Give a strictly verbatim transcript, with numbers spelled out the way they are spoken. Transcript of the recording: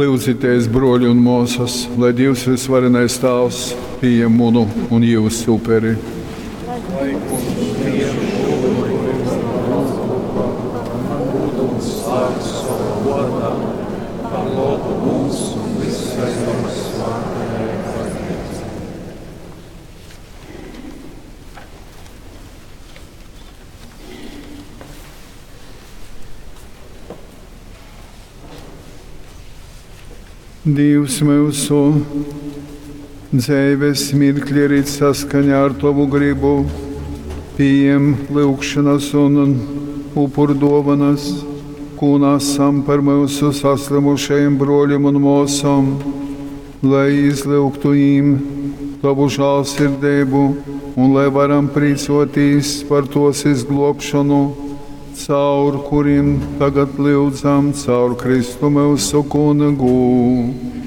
Lyudzitēs, brōli un mōsas, lai Dīvs vysvarenais Tāvs pījem munu un jyusu uperi. Lai Kungs pījem šū upuri nu tovu rūku par gūdu un slavu sovam vōrdam, par lobu mums un visai Jō svātajai Bazneicai. Dīvs myusu dzeives mirkļi rit saskaņā ar tovu gribu. Pījem lyugšonas un upurdōvonas, kū nasam par myusu saslymušajim brōlim un mōsom, lai izlyugtu jim tovu žālsirdeibu un lai varam prīcōtīs par tōs izglōbšonu, caur kurim tagad lyudzam, caur Kristu myusu Kungu.